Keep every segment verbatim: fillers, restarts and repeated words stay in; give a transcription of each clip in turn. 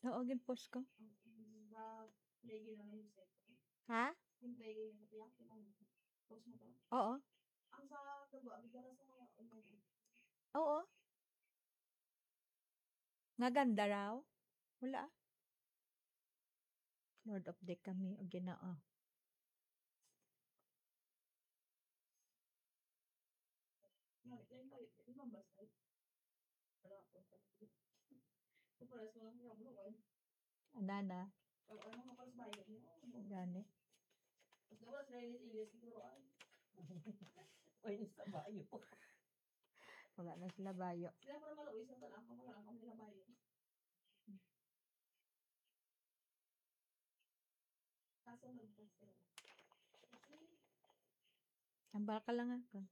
Oo, gin-post ko. Ha? Oo. Oo. Nga ganda raw? Wala, ah. Lord, update kami, o Ginoo. Anana. Gani. Oy, sa bayo. Wala na sila bayo. Ang baka lang ako.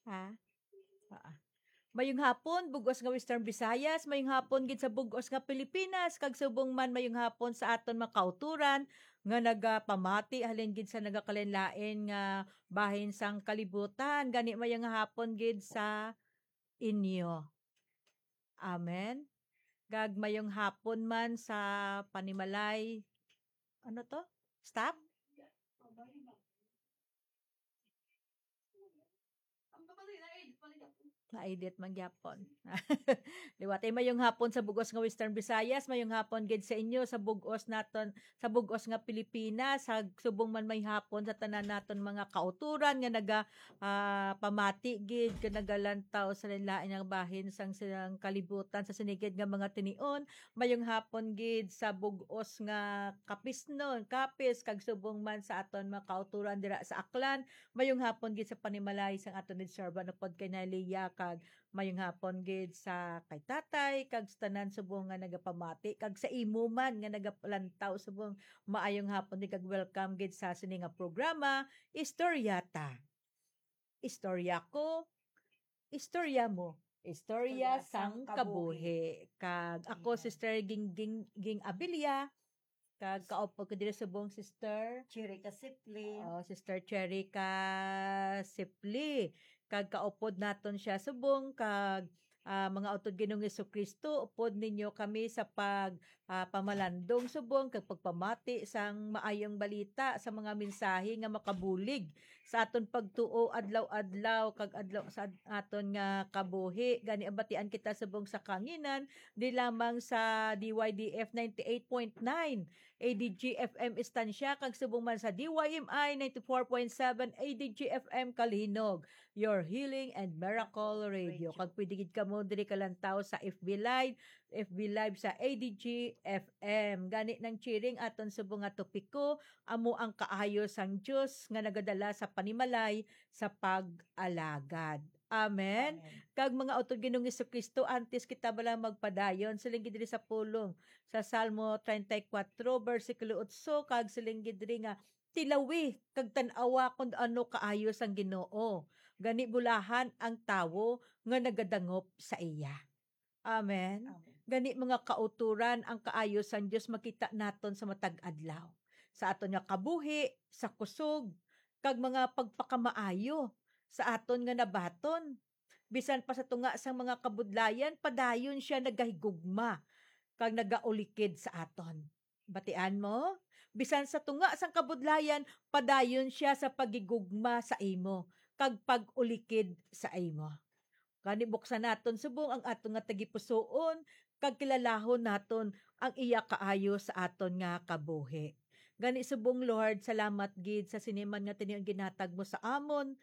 Ha? Ah. Mayong hapon, bug-os nga Western Visayas, mayong hapon gid sa bug-os nga Pilipinas, kag subong man mayong hapon sa aton mga kauturan nga nagapamati halin gid sa nagakalain-lain nga bahin sang kalibutan. Gani mayong hapon gid sa inyo. Amen. Kag mayong hapon man sa panimalay. Ano to? Stop? Na-edit man gyapon. Liwat ay mayong hapon sa bug-os nga Western Visayas, mayong hapon gid sa inyo sa bug-os naton, sa bug-os nga Pilipinas, sa subong man may hapon sa tanan naton mga kauturan nga naga, ah, pamati gid, nga nagalantaw sa lain-lain nga bahin sang silang kalibutan sa sinigid nga mga tinion. Mayong hapon gid sa bug-os nga kapisnon, kapis, kag subong man sa aton mga kauturan dira sa Aklan. Mayong hapon gid sa panimalay sang aton gid servant upod kay Nailia, kag mayong hapon gid sa kay tatay, kag sa tanan subong nga nagapamati, kag sa imo man nga nagalantaw subong, maayong hapon gid kag welcome gid sa sini nga programa, Istorya Ta. Istorya ko, istorya mo. Istorya Istorya sang sang kabuhi. kabuhi. Kag ako, Amen. Sister Ging, Ging, Ging Abilia, kag kaupod ko diri subong, Sister Cherry Casipli. Oh, Sister Cherry Casipli. Kag kaupod naton siya subong, kag, ah, mga utod Ginoong Jesu-Cristo, upod ninyo kami sa pag, ah, pamalandong subong kag pagpamati sang maayong balita sa mga mensahe nga makabulig sa aton pagtuo adlaw-adlaw kag adlaw sa ad-, aton nga kabuhi. Gani, abatian kita subong sa kanginan, di lamang sa D Y D F ninety-eight point nine A D G F M Estancia, kag subong man sa D Y M I ninety-four point seven A D G F M Kalinog, your healing and miracle radio. Radio. Kag pwede gid kamo diri kalantaw sa F B Live, F B Live sa A D G F M. Gani nang chiring aton subong nga topiko, amo ang kaayo sang Dios nga nagadala sa panimalay sa pag-alagad. Amen. Amen. Kag mga utod Ginoong Jesu-Cristo, antes kita bala magpadayon, siling gid diri sa pulong sa Salmo treinta y cuatro, bersikulo otso, kag siling gid diri nga, "Tilawi kag tan-awa kon ano kaayo sang Ginoo. Gani bulahan ang tawo nga nagadangop sa iya." Amen. Amen. Gani, mga kauturan, ang kaayo sang Dios makita naton sa matag adlaw, sa aton nga kabuhi, sa kusog, kag mga pagpakamaayo sa aton nga nabaton. Bisan pa sa tunga sang mga kabudlayan, padayon sia nagahigugma kag nagaulikid sa aton. Batian mo? Bisan sa tunga sang kabudlayan, padayon sia sa paghigugma sa imo kag pag-ulikid sa imo. Gani, buksan naton subong ang aton nga tagipusoon, kag kilalahon naton ang iya kaayo sa aton nga kabuhi. Gani subong, Lord, salamat gid sa sini man nga tinion ginhatag mo sa amon.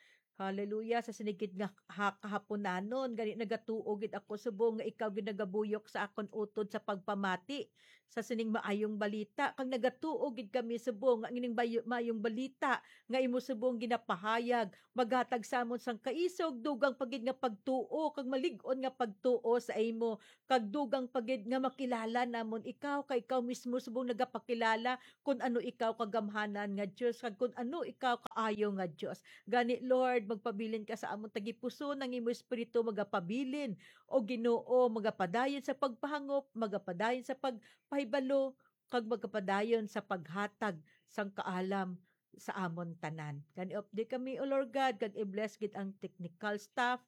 Hallelujah, sa sini gid nga ha-, kahaponanon. Gani nagatuo gid ako subong nga ikaw gid nagabuyok sa akon utod sa pagpamati sa sining maayong balita, kag nagatuo gid kami subong nga ining bayo-, maayong balita nga imo subong ginapahayag maghatag sa amon sang kaisog, dugang pa gid nga pagtuo, kag malig-on nga pagtuo sa imo, kag dugang pa gid nga makilala namon ikaw, kay ikaw mismo subong nagapakilala kun ano ikaw kagamhanan nga Dios, kag kun ano ikaw kaayo nga Dios. Gani, Lord, magpabilin ka sa amon tagipusoon, ang imo Espiritu magapabilin, o Ginoo, magapadayon sa pagpahangop, magapadayon sa pagpahibalo, kag magapadayon sa paghatag sang kaalam sa amon tanan. Gani, updi kami, O Lord God, kag i-bless gid ang technical staff,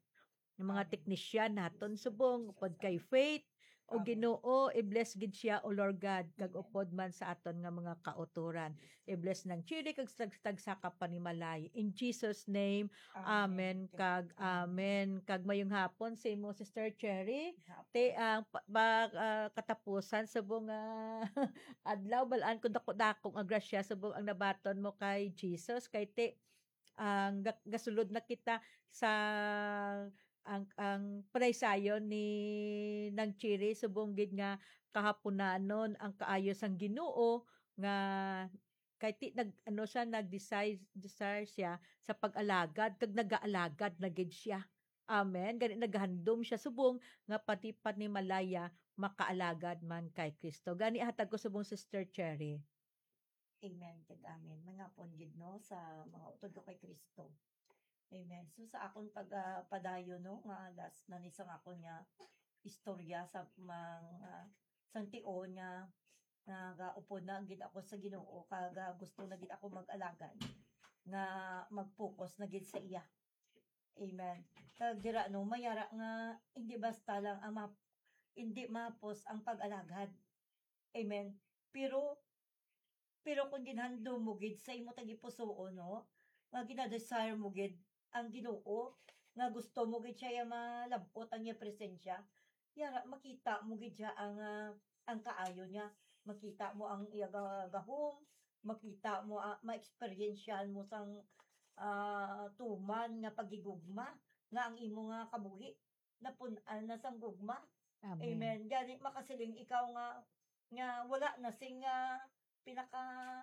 ang mga Amen. Technician naton subong, upod kay Faith, O Ginoo, i-bless gid siya, O Lord God, kag upod man sa aton nga mga kautoran. I-bless Nang Cherry kag sa tag-, tagsa ka panimalay. In Jesus' name, amen kag amen. Kag mayong hapon sa imo, Sister Cherry. Te, ang pa, pa, ah, katapusan subong nga adlaw, balaan ko dako-dako nga grasya subong ang nabaton mo kay Jesus. Kay ti, ang ga-, gasulod na kita sa ang, ang panaysayon ni Nang Cherry, subong gid nga kahapunanon ang kaayo sang Ginoo nga kay ti nag, ano siya, nag-desire, desire siya sa pag-alagad, kag nagaalagad na gid siya. Amen. Gani naghandom siya subong nga pati panimalaya makaalagad man kay Kristo. Gani hatag ko subong, Sister Cherry. Amen kag amen. Mangapon gid, no, sa mga utod ko kay Kristo. Amen. So, sa akon pag, ah, padayon, no, nga last na ni sang akon nga istorya sa mga, sang tion nga nagaupod na gid ako sa Ginoo, kag, ah, gusto na gid ako mag-alagad nga mag-focus na gid sa iya. Amen. Kag dira, no, mayara nga hindi basta lang ang ma-, hindi mahapos ang pag-alagad. Amen. Pero, pero kung ginhandom mo gid sa imo tagipusoon, no, nga ginadesire mo gid ang Ginoo, nga gusto mo gid siya, iya malab-ot ang iya presensya, yara, makita mo gid siya ang, ah, ang kaayo niya. Makita mo ang iya ga-, gahom, makita mo, ah, ma-experiensyahan mo sang, ah, tuman nga paghigugma nga ang imo nga kabuhi napun-an na sang gugma. Amen. Amen. Gani makasiling ikaw nga, nga wala na sing, ah, pinaka,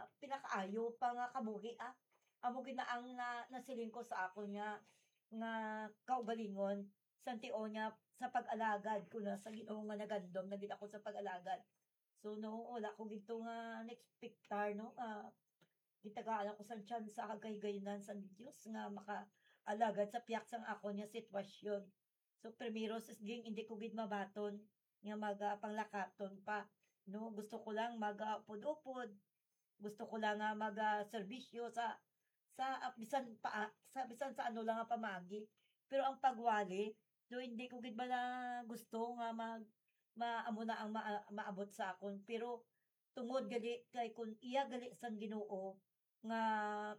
ah, pinakaayo pa nga kabuhi, ah. Amo gid na ang na-, nasiling ko sa akon nga, nga kaugalingon, sang tion nga sa pag-alagad ko na sa Ginoo nga nagandom na gid ako sa pag-alagad. So, no, wala ko gid to nga na-expectar, no, nga gitagaan ako sang tsansa kag kahigayunan sang Dios nga makaalagad sa pihak sang akon nga sitwasyon. So, primero, sis Ging, hindi ko gid mabaton nga magapanglakaton pa, no? Gusto ko lang magaupod-upod. Gusto ko lang nga magaserbisyo sa, sa, ah, bisan pa, sa, bisan sa ano lang nga pamaagi. Pero ang pagwali, do hindi ko gid bala gusto nga mag-, ma-, amo na ang ma-, maabot sa akon. Pero tungod gali kay kun iya gali sang Ginoo nga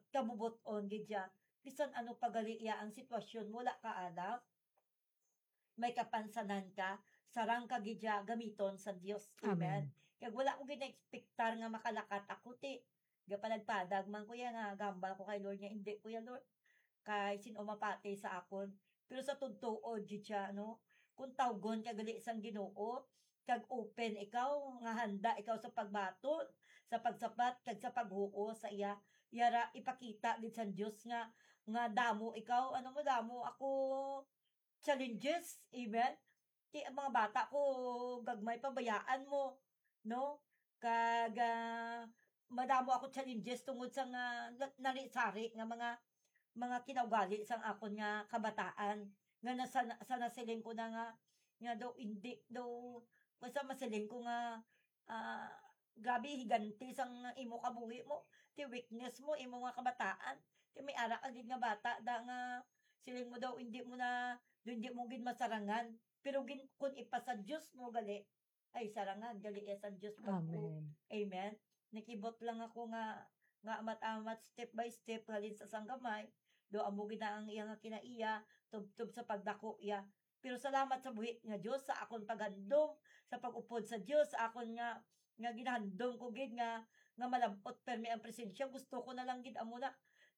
kabubot-on gid siya, bisan ano pa gali iya ang sitwasyon, wala ka alam. May kapansanan ka, sarang ka gid siya gamiton sa Dios. Amen. Amen. Kag wala ko gid na-expectar nga makalakat ako, ti. Gapanagpadag man ko ya nga gambal ko kay Lord nga, "Hindi ko ya, Lord, kay sin-o mapati sa akon." Pero sa tugtuod gid siya, no? Kung tawgon ka gali sang Ginoo, kag open ikaw, nga handa ikaw sa pagbaton, sa pagsabat, kag sa paghuo sa iya, yara ipakita gid sang Dios nga, nga damo ikaw, ano mo, damo ako challenges, amen? Ti, ang mga bata ko, gagmay pa, bayaan mo, no? Kag, ah, madamo ako challenges tungod sa nga na-, nari-sari nga mga, mga kinaugali sang akon nga kabataan, nga nasa-, sa nasiling ko na nga, nga daw hindi, daw, basta masiling ko nga, ah, grabe, higante sang imo kabuhi mo, ti weakness mo, imo nga kabataan, ti may ara ka gid nga bata, da nga siling mo daw, hindi mo na, hindi mo gid masarangan. Pero gin-, kun ipasa Dios mo gali, ay, sarangan gali iya sang Dios pag-, Amen. Amen. Nakibot lang ako nga, nga amat-amat, step by step, halin sa sanggamay, do amo gid na ang iya nga kinaiya, tubtob sa pagdako iya. Pero salamat sa buhi nga Dios sa akon paghandom, sa pag-upod sa Dios, sa akon nga, nga ginahandom ko gid nga, nga malab-ot permi ang presensya. Gusto ko na lang gid amo na.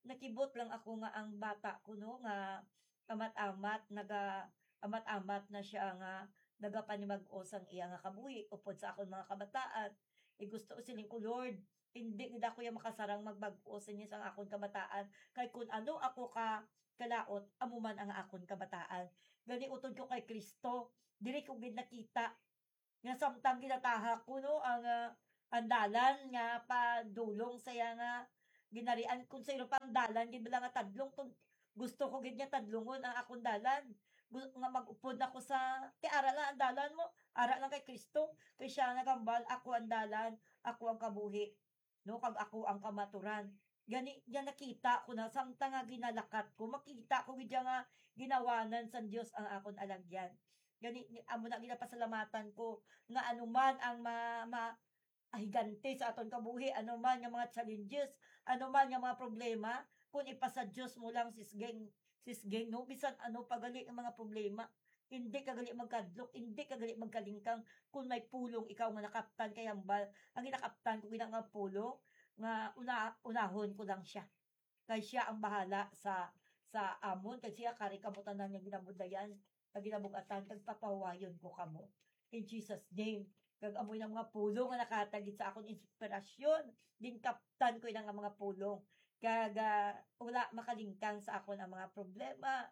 Nakibot lang ako nga ang bata ko, no, nga amat-amat, naga-, amat-amat na siya nga nagapanimag-o sang iya nga kabuhi upod sa akon mga kabataan. Eh, gusto, siling ko, Lord, hindi gid ako ya makasarang magbag-o sa inyo sang akon kabataan. Kay kun ano ako ka kalaot, amo man ang akon kabataan. Gani, utod ko kay Cristo, diri ko gid nakita nga samtang ginatahak ko, no, ang, ah, ang dalan nga padulong sa iya nga ginharian, kun sa iro pa ang dalan gid bala nga tadlong, kun gusto ko gid nga tadlungon ang akon dalan, gu-, nga mag-upod ako sa, ti ara lang ang dalan mo, ara lang kay Cristo, kay siya nagambal, "Ako ang dalan, ako ang kabuhi." No, kag ako ang kamaturan. Gani, nga nakita ko na, samtang nga ginalakat ko, makita ko gid nga ginawanan sang Dios ang akon alagyan. Gani, ni-, amo na ginapasalamatan ko nga anuman ang ma-, ma-, ahigante sa aton kabuhi, anuman nga mga challenges, anuman nga mga problema, kung ipasa Dios mo lang, sis Geng, sis Geng, no? Bisan ano pa gali ang mga problema, hindi ka gali magkadlok, hindi ka gali magkalingkang kung may pulong ikaw nga nakaptan kay hambal. Ang ginakaptan ko gina nga pulong nga una-, unahon ko lang siya. Kay siya ang bahala sa, sa amon, kay siya kari kamo tanan nga ginabudlayan, nga ginabug-atan, kag papahuwayon ko kamo. In Jesus' name. Kag amo ang mga pulong nga nakahatag gid sa akon inspirasyon. Ginkaptan ko ina nga mga pulong. Kag, ah, wala makalingkang sa akon ang mga problema.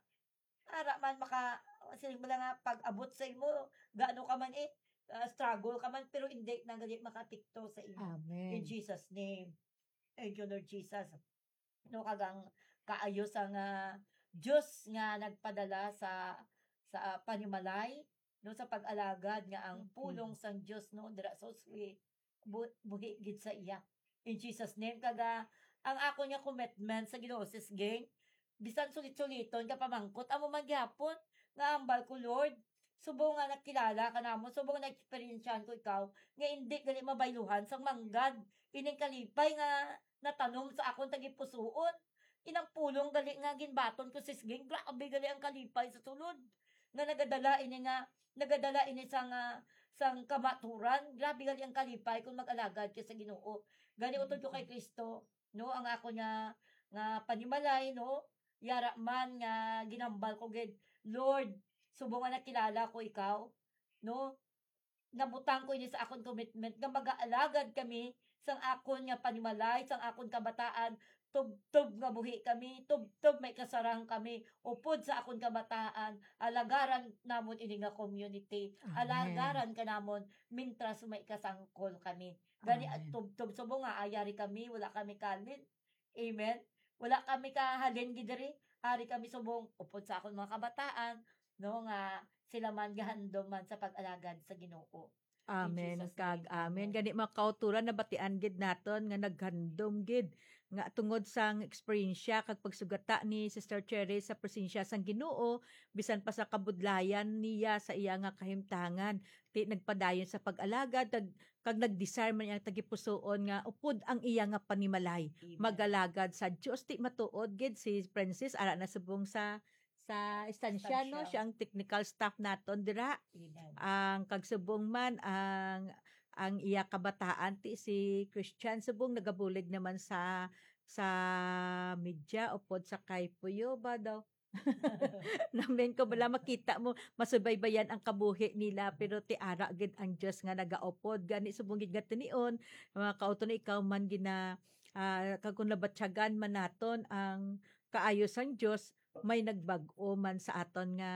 Ara man maka, siling mo lang nga, pag-abot sa imo, gaano ka man eh, ah, struggle ka man, pero hindi na gali makaapekto sa imo. In Amen. Jesus' name. Thank you, Lord Jesus. No, kag ang kaayo sang, ah, Dios nga nagpadala sa, sa panimalay, no, sa pag-alagad nga ang Okay. pulong sang Dios, no, dira sa uswi, bu-, buhi gid sa iya. In Jesus' name, kag, ah, ang akon nga commitment sa Ginoo, sis Geng, bisan sulit-suliton ka pamangkot, amo man gihapon nga hambal ko, Lord, subong nga nakilala ka namon, subong nga na-eksperyensyahan ko ikaw, nga indi gali mabayluhan sang manggad ining kalipay nga natanom sa akon tagipusoon. Inang pulong gali nga ginbaton ko, sis Geng, grabe gali ang kalipay sa sulod. Nga nagadala ini nga, nagadala ini sang, ah, sang kamaturan. Grabe gali ang kalipay kung mag-alagad ka sa Ginoo. Gani utod ko kay Kristo, no, ang ako nga, nga panimalay, no, yara man nga ginambal ko gid, Lord, subong nga nakilala ko ikaw, no, nabutang ko ini sa akon commitment nga magaalagad kami sang akon nga panimalay, sang akon kabataan, tubtob nga buhi kami, tubtob may kasarang kami, upod sa akon kabataan, alagaran namon ini nga community, Amen. alagaran ka namon, mintras may kasangkol kami. Gani, Amen. tubtob subong nga, ayari kami, wala kami kalin. Amen. Wala kami kahalin gid diri. Ari kami subong, upod sa akon mga kabataan, no, nga sila man gahandom man sa pag-alagad sa Ginoo. In Amen. Jesus' Kag name, amen. amen. Gani, mga kauturan, nabatian gid naton nga naghandom gid nga tungod sang eksperyensya kag pagsugata ni Sister Cherry sa presensya sang Ginoo, bisan pa sa kabudlayan niya sa iya nga kahimtangan. Ti nagpadayon sa pag-alagad, kag, kag nag-desire man iyang tagipusoon nga upod ang iya nga panimalay. Amen. Mag-alagad sa Dios. Ti matuod gid si Princess, ara na subong sa, sa estansya, no? Estansya. Siya ang technical staff naton dira. Amen. Ang kagsubong man, ang, ang iya kabataan, ti si Christian, subong nagabulig naman sa, sa media, upod sa kay Puyo ba daw? Namin ko bala makita mo, masubaybayan ang kabuhi nila, pero ti ara gid ang Dios nga nagaupod. Gani, subong gid nga tinion, mga kauto na ikaw man gina-, ah, kag kung nabatyagan man naton ang kaayo sang Dios, may nagbag-o man sa aton nga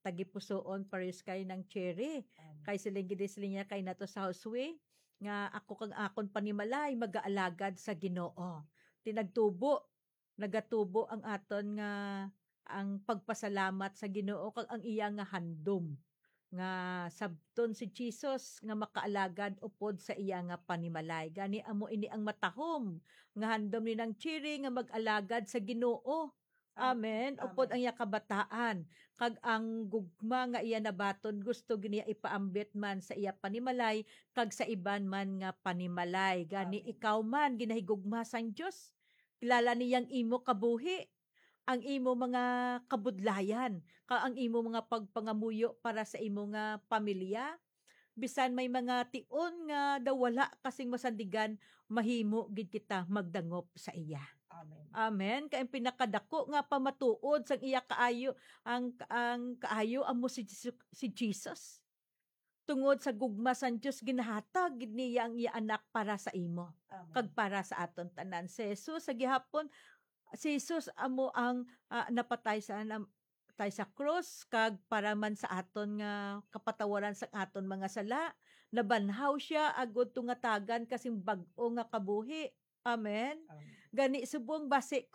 tagipusoon, pares kay nang Cherry. Amen. Kay siling gid, siling niya kay nato sa Josue, nga ako kag akon panimalay magaalagad sa Ginoo. Ti nagtubo, nagatubo ang aton nga, ang pagpasalamat sa Ginoo kag ang iya nga handom nga sabton si Jesus nga makaalagad upod sa iya nga panimalay. Gani amo ini ang matahom nga handom ni nang Cherry nga mag-alagad sa Ginoo. Amen. Amen. Upod Amen. ang iya kabataan, kag ang gugma nga iya nabaton gusto gid niya ipaambit man sa iya panimalay kag sa iban man nga panimalay. Gani Amen. ikaw man ginahigugma sang Dios. Kilala niya ang imo kabuhi, ang imo mga kabudlayan, kag ang imo mga pagpangamuyo para sa imo nga pamilya. Bisan may mga tion nga daw wala kasing masandigan, mahimo gid kita magdangop sa iya. Amen. Amen. Kay ang pinakadako nga pamatuod sang iya kaayo, ang, ang kaayo amo si Jesu-, si Jesus. Tungod sa gugma sang Dios, ginahatag gid niya ang iya anak para sa imo Amen. kag para sa aton tanan. Si Jesus sa gihapon, si Jesus amo ang, ah, napatay sa, nam-, patay sa krus, kag para man sa aton nga kapatawaran sa aton mga sala, nabanhaw siya agud tungatagan kasing bag-o nga kabuhi. Amen. Amen. Gani subong basi